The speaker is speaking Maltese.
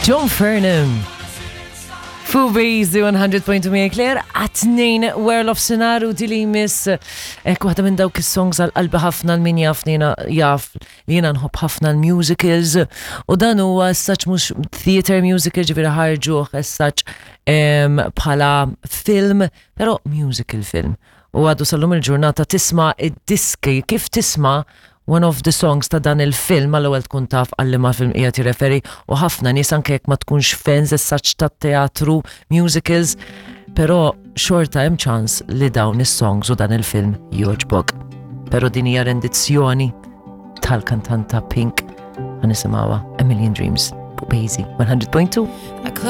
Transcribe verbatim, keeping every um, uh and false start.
John Fernham. Fubizi one hundred point two Mia Claire, għat-tnejn wara nofsinhar u dili miss ek waħda minn dawk is-songs għal qalbi ħafna. L-min jaf nina jaf li jiena nħobb ħafna l-musicals u dan huwa as such mhux theater musical, ġifieri ħarġuh as such em, bħala film, però musical film. U għadu sal-lum il-ġurnata tisma' id-diski, kif tisma' one of the songs ta' dan il-film, għall-ewwel tkun taf għal liema film qiegħed jirreferi u ħafna nies, anke jekk ma tkunx fans as such tat-teatru, musicals, però xorta hemm ċans li dawn is-songs u dan il-film jogħġbok. Però din hija rendizzjoni tal-kantanta Pink, ħa nisimgħuha, A Million Dreams, fuq Bazy one hundred point two. I close